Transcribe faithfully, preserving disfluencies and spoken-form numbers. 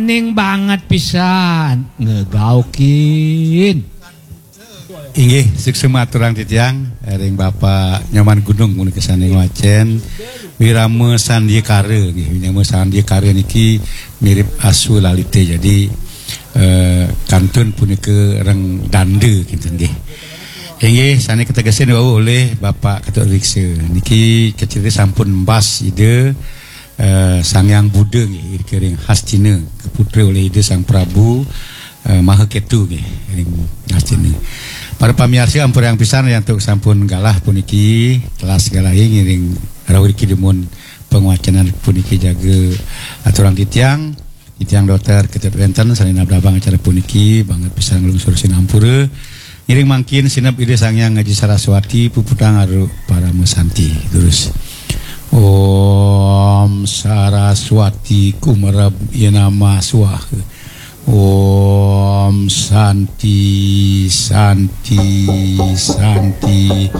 Ning banget pisan ngegaukin. Inggih, suksma aturang titiang ring Bapak Nyoman Gunung punika sané ngwacén Wirama Sandyakara nggih. Wirama Sandyakara niki mirip Aswa Lalita. Jadi eh, kantun punika ring danda kinten nggih. Inggih, sané kategesin wau olih Bapak Ketut Riksa. Niki kacarita sampun mbas Ida eh, Sang Hyang Buddha nggih, irika ring Hastina, kaputra olih Ida Sang Prabu eh, Maha Ketu nggih, ring Hastina. Para pamiarsa, ampurayang pisan yen antuk sampun galah puniki, telas galahé ngiring rauh iriki dumun pangwacenan puniki jaga aturang titiang. Titiang Dokter Ketut Wénten sané nablabang acara puniki, banget pisan nglungsur sinampura. Ngiring mangkin sineb Ida Sang Hyang Aji Saraswati, puputang aru parama santi. Terus. Om Saraswati Kumarab Yenama Swaha. Om Santi, Santi, Santi.